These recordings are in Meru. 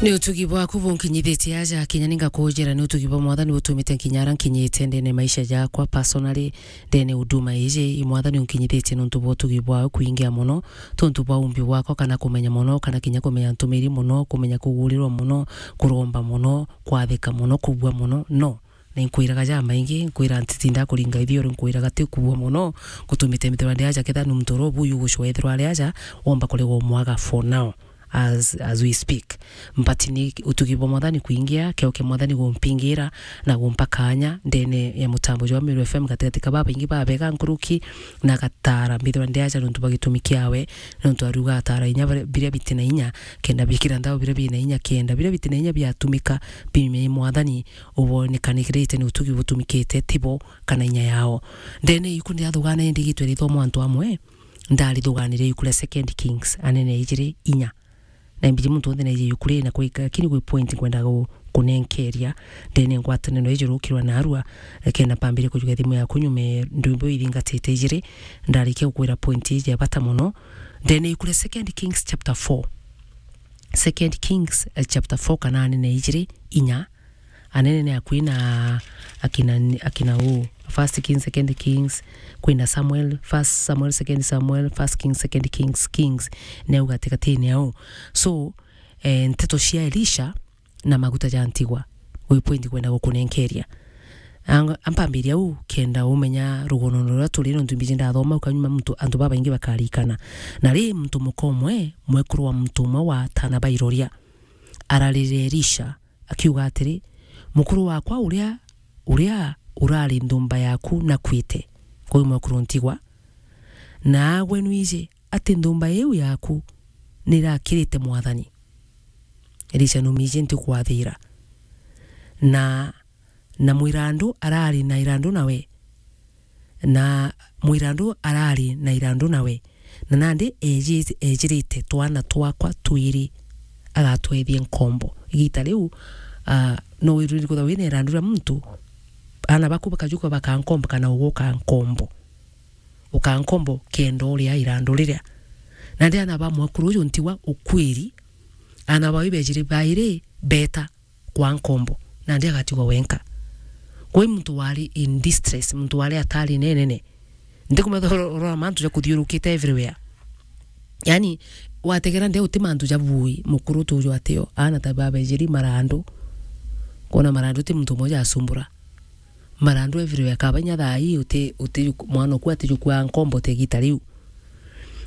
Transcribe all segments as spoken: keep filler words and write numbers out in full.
Ni utugi bwaku bunkinyithitie aja, kinya ni ngakujira ni utugi bwa Mwathani butumite nkinya ara nkinyite ndene maisha jakwa personally, ndene huduma iji, i Mwathani unkinyithitie nontu bwa utugi bwawe kwingia mono, tontu bwa umbi bwakwa, kana kumenya mono, kana kinya kumenya ntumiri mono, kumenya kugurirwa mono, kuromba mono, kwathika mono, kubua mono, no. Na inkwiraga jamaingi, nkwira ntitinda kuringa ithiori, nkwiraga ti kubua mono, gutumite mithirwa ndi aja, ketha ni muntu uria ubuyu gucwa ethirwa ari aja, womba kuregwa umwaga for now, as, as we speak. But ni utugi bwa Mwathani kwingia, keo kia Mwathani gumpingira na gumpa kanya ndene ya mutambo jwa Meru F M gatigati ka babaingi babega nkuruki na gatara mbithirwa ndi aja nontu bwa gitumi kiawe, nontu aruga atara inya bare-, biria biti na inya, kenda bikira nthaao biria bina inya, kenda biria biti na inya biatumika biume i Mwathani, ubonekanirite ni utugi butumikite tibo kana inya yao. Ndene iku ndathugaana indi igitwe rithomwa antu amwe, ndarithugaanire iku ria Second Kings, anene ijiri inya. Na imbiji muntu wonthe naije iku ri na kwika, lakini gwi point nkwenda gu-, kunenkeria ndene ngwataniro iji rukirwa narua, kenda mpambire kujukia thimu yaku nyume ndwimbo ithingatite ijiri, ndarikia gukwira point iji ya bata mono. Ndene iku ria Second Kings chapter four. Second Kings, eh, chapter four kana anene ijiri inya. Anene ni akui na akina, akina u. First Kings, Second Kings, kwina Samuel, First Samuel, Second Samuel, First Kings, Second Kings, Kings. Neu gatigatini au. So, eh, nteto cia Elisha na maguta ja ntigwa. Gwi point kwenda gukunenkeria. Ang-, ampambiria u, kenda umenya rugono ruria turi, nontu mbiji ndathoma, ukanyuma muntu, antu babaingi bakarikana. Na ri, muntu muka umwe, mwekuru wa muntu umwe wa atana ba iroria, ararire Elisha, akiuga atiri, "Mukuru wakwa uria, uria urari nthumba yaku nakuite." Kwou mwekuru ntigwa, na agwe nwiji ati nthumba iu yaku nirakirite Mwathani. Elisha numiji ntikwathira. Na, na mwirandu arari na irandu nawe. Na mwirandu arari na irandu nawe. Na nandi eji-, ejirite twana twakwa twiri agatwethie nkombo. Igita riu, ah, no wiruri kutha wina irandu ria muntu, ana baku bakajuka bakankombo kana uguka nkombo. Ukankombo kenda uria irandu riria. Nandi ana ba mwekuru uju ntigwa ukwiri, ana bawe bejiri bairi beta kwa nkombo, nandi agatigwa wenka. Kwi muntu wari in distress, muntu wari atari nenene. Ndikumenya oro-, orora mantu ja kuthiurukite everywhere. Yani, wategera nde uti mantu ja bui, mukuru tuju atio, ana ta babejiri marandu. Kona marandu ti muntu umwe jasumbura. Marandu everywhere, kaba inya thaa ii uti, uti mwana oku atijukua nkombo te gita riu.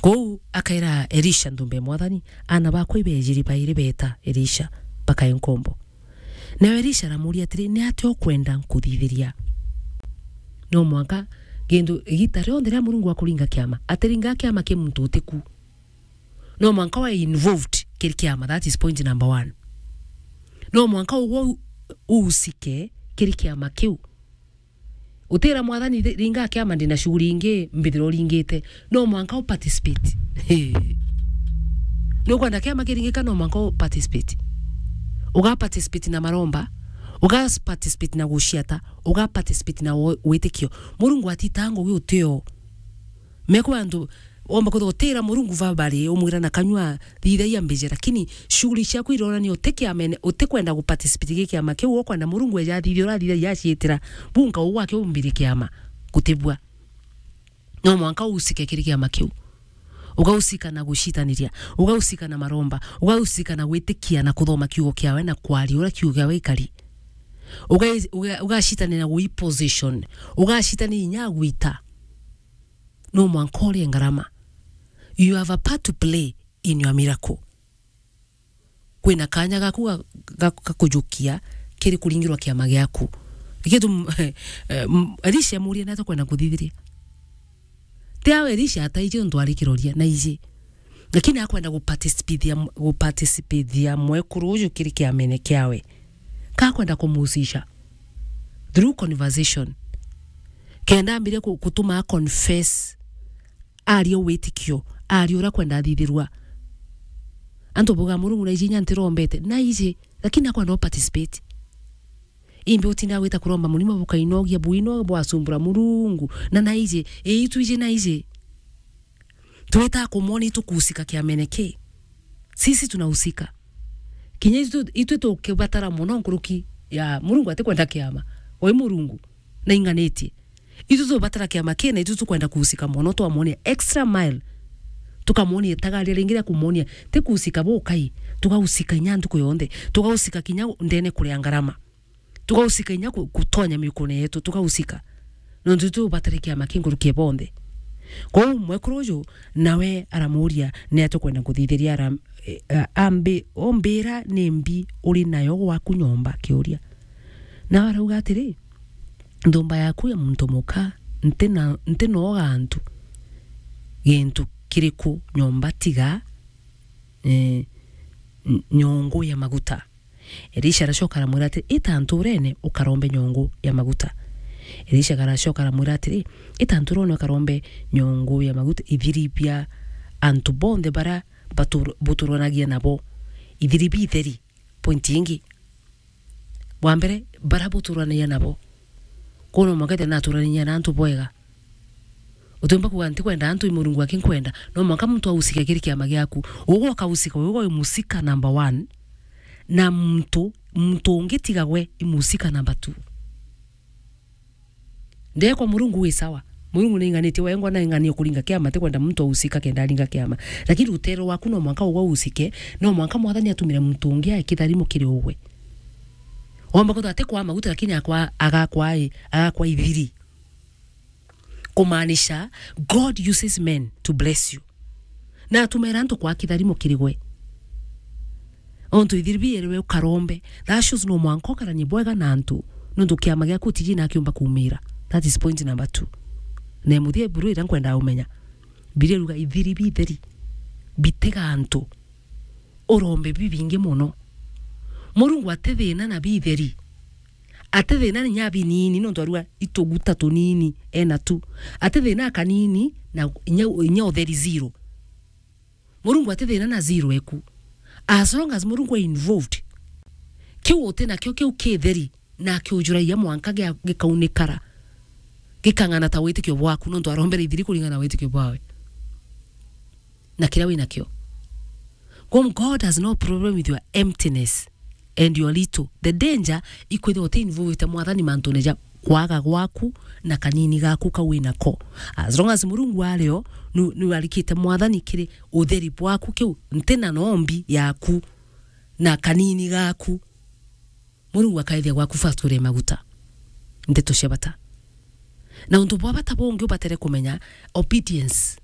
Kou akaira Elisha nthumba ya Mwathani, "Ana bakwa ibejiri bairi beta Elisha, bakae nkombo." Nawe Elisha aramuria atiri, "Ni atia ukwenda nkuthithiria?" No mwanka gintu, igita rionthe ria Murungu akuringa kiama, atiringa kiama ki muntu utiku. No mwanka wa involved kiri kiama, that is point number one. No mwanka ugwe u-, uhusike kiri kiama kiu. Utira Mwathani, thi-, ringa kiama, ndina shughuli ingi mbithira uringite. No mwanka u participate. Nukwenda kiama kiringika, no mwanka u participate. Uga participate na maromba, uga participate na guciata, uga participate na wo-, witikio. Murungu atitaga ngugi utio. Meko antu omba kwithirwa utira Murungu verbally, umwira na kanyua, "Thithagia mbije," lakini shughuli ciaku ironania utikiamene, utikwenda guparticipate gi kiama kiu, ukwenda Murungu eja athithia, urathithagia aciitira. Bunka ugwake umbire kiama, gutibua. No mwanka uhusike kiri kiama kiu. Ugahusika na gucitaniria, ugahusika na maromba, ugahusika na gwitikia na kuthoma kiugo kiawe na kwaria uria kiugo kiawe gikari. Uga-, uga-, ugacitanira na gui position, ugacitanira inya gwita. No mwanka urie ngarama. You have a part to play in your miracle. Kwina kanya gaku ga, ga, ga kujukia kiri kuringirwa kiama giaku. Nikio tu, eh, m-, Elisha amuria, "Ni atia ukwenda nkuthithirie?" Ti awe Elisha ataiji untu ari kiroria, na iji. Lakini akwenda guparticipate-ia, guparticipate-ia mwekuru uju kiri kiamene kiawe. Ka akwenda kumuhusisha through conversation. Kenda ambire ku-, gutuma a confess, aria witikio, aria uria akwenda athithirua. Antu bauga, "Murungu, na iji inya ntirombete." Na iji, lakini akwenda u participate. Imbi utinda gwita kuromba murimo bukainogia, buino bwasumbura Murungu. Na naiji, ii twiji naiji. Twita kumwona itukuhusika kiamene ki. Sisi tunahusika. Kinya itwe, itwe tukibatara mono nkuruki ya Murungu atikwenda kiama. Oi Murungu, na inganitie. Itwe tubatara kiama kina, itwe tukwenda kuhusika mono, twamwonia extra mile. Tukamwonia itagaria ringi ria kumwonia, ti kuhusika bukai, tugahusika inya ntuku yonthe, tugahusika kinya ndene kuria ngarama. Tugahusika inya ku-, kutonya miukune yetu, tugahusika. Nontu tubatare kiama ki nkuruki ya bonthe. Kwou mwekuru uju nawe aramuria, ni atia ukwenda kuthithiria? Ara-, eh, a-, ambi-, ombira ni mbi uri nayo gwaku nyomba? Akiuria. Nawe arauga atiri, nthumba yaku ya muntu muka, ntina, ntinoga antu gintu kiriku nyomba tiga, eh, n-, nyongu ya maguta. Elisha aracoka aramwira ati, "Ita nturene ukarombe nyongu ya maguta." Elisha aracoka aramwira atiri, "Ita nturene ukarombe nyongu ya maguta, ithiri bia antu bonthe bara batur-, buturanagia nabo, ithiri bitheri." Point ingi, bwa mbere, bara buturanagia nabo. Kwou no mwanka ethira naturaniria na antu bwega. Utiumba kuuga, "Ntikwenda antu, i Murungu aki nkwenda." No mwanka muntu ahusike kiri kiama giaku. Ugwe ukahusika, ugwe wi musika number one. Na muntu, muntu ungi tiga gwe, i musika number two. Ndekwa Murungu wi sawa. Murungu nainganitie, wengwa naingania kuringa kiama, tikwenda muntu ahusika kenda aringa kiama. Lakini rutere rwaku no mwanka ugwe uhusike, no mwanka Mwathani atumire muntu ungi ae kitharimo kiri ugwe. Womba kwithirwa ati kwa maguta, lakini akwa, agakwa i, agakwa ithiri. Kumaanisha, God uses men to bless you. Na atumira antu kwa kitharimo kiri gwe. Ontu ithiri bieriwe ukarombe. That shows no mwanka ukaranie bwega na antu. Nontu kiama giaku utiji na akiumba kuumira. That is point number two. Na muthia buru ira nkwenda umenya. Bibilia iruga ithiri bitheri. Bitega antu. Urombe bibingi mono. Murungu ati thina na bitheri. Ati thina ni nya binini, nontu arua ituguta tunini ena tu. Ati thina kanini na inya, inya utheri zero. Murungu ati thina na zero eku. As long as Murungu e involved, kiu uti nakio kiu kitheri, na kiujuragia mwanka gia, gikaunikara. Gikang'ana ta witikio bwaku, nontu arombere ithiri kuringana na witikio bwawe. Na kiria wi nakio. Kwou God has no problem with your emptiness and your little. The danger ikwithirwa uti involved Mwathani mantune ja kwaga gwaku na kanini gaku kau wi nako. As long as Murungu ario, nu, nu arikite Mwathani kiri utheri bwaku, kiu ntina nombi yaku na kanini gaku. Murungu akaithia gwaku first uria maguta. Ndeto cia bata. Na untu bwa bata bungi ubatere kumenya, obedience.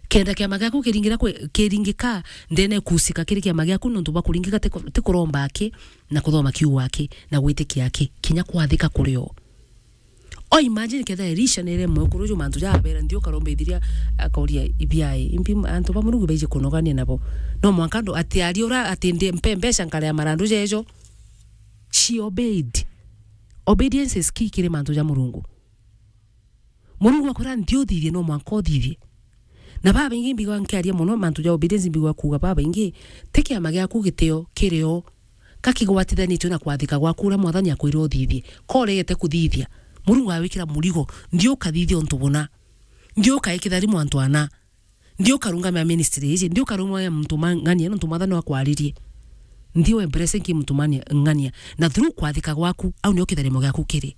Kenda kiama giaku kiringira kwi-, kiringika, ndene kusika kiri kiama giaku nontu bwa kuringika ti ku-, ti kuromba aki, na kuthoma kiugo aki, na gwitikia aki, kinya kwathika kurio. O imagine ketha Elisha nere mwekuru uju mantu ja abera, "Nthi ukarombe ithiria," akauria, "Ibiai, imbi antu ba Murungu baiji kunogania nabo?" No mwanka ndo ati ari ura ati ndi mpe mbeca nkaria marandu jejo. She obeyed. Obedience is key kiri mantu ja Murungu. Murungu akwira, "Nthi uthithie," no mwanka uthithie. Na babaingi mbigwa nkiaria mono mantu ja obedience, mbigwa kuuga babaingi, ti kiama giaku gitio kirio, ka kigwatithanitue na kwathika gwaku uria Mwathani akwire uthithie. Ka uregete kuthithia, Murungu awikira murigo, "Nthi ukathithia untu buna. Nthi ukae kitharimo antu ana. Nthi ukarungama ministry iji, nthi ukarungama muntu ma-, ng'ania, nontu Mwathani akwaririe. Nthi we blessing ki muntu mani-, ng'ania." Na through kwathika gwaku, au nio kitharimo giaku kiri.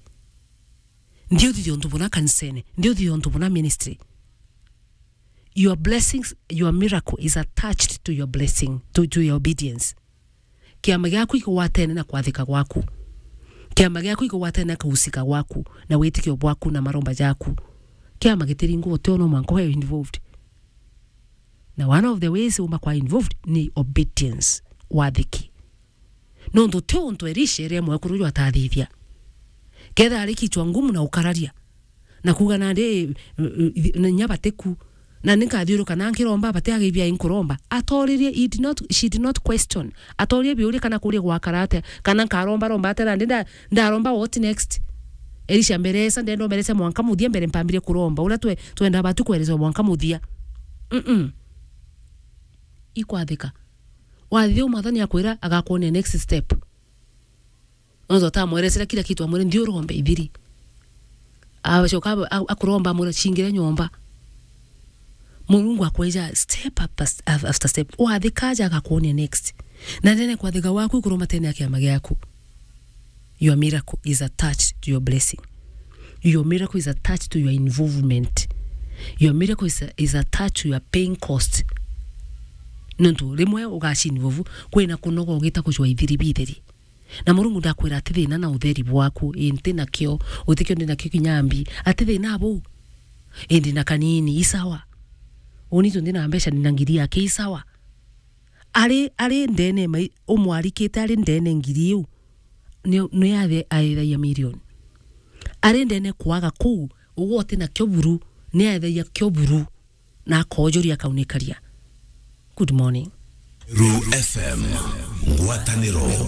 Nthi uthithia untu buna kanisene, nthi uthithia untu buna ministry. Your blessings, your miracle is attached to your blessing, to, to your obedience. Kiama giaku ikigwatene na kwathika gwaku. Kiama giaku ikigwatene na kuhusika gwaku, na witikio bwaku, na maromba jaku. Kiama gitiringwa utio no mwanka we involved. Na one of the ways uma kwa involved ni obedience, wathiki. Nontu ti untu Elisha ere mwekuru uju atathithia. Ketha ari kichwa ngumu na ukararia. Na kuuga nandi, eh, eh, na inya batiku. Na ni nkathiuruka na nkiromba, bati agibia inkuromba. Atoririe, he did not, she did not question. Atorie biuria kana kuria gwakara atia, kana nkaromba romba atia, nandi nda-, ndaromba what next? Elisha mberesa, ndenda mberesa mwanka muthia mbere mpambire kuromba. Uria twe-, twenda batu kweresa mwanka muthia. Mm-mm. Ikwathika. Wathithia Mwathani akwira agakwonia next step. Nontu atamweresera kila kitu, amwire, "Nthi urombe ithiri." Acoka a-, a-, akuromba, amwira, "Cingire nyomba." Murungu akweja step after, after step. Wathika aja agakwonia next. Na nene kwathika waku ikuruma tene ya kiama giaku. Your miracle is attached to your blessing. Your miracle is attached to your involvement. Your miracle is, is attached to your paying cost. Nontu rimwe ugaci involve, kwina kunoga ugita kucwa ithiri bitheri. Na Murungu ndakwira ati thina na utheri bwaku, ii nti nakio, utikio ndi nakio kinya mbi, ati thina buu, indi na kanini, isawa. Uni tu ndi na mbeca, ndi na ngiri yake, isawa. Ari, ari ndene mai-, umwarikite ari ndene ngiri iu, ni, ni athe aethagia milioni. Ari ndene kwaga kuu, uguo uti nakio buru, ni aethagia kio buru, na akojuria akaunikaria. Good morning. Ru F M, ngwataniro ya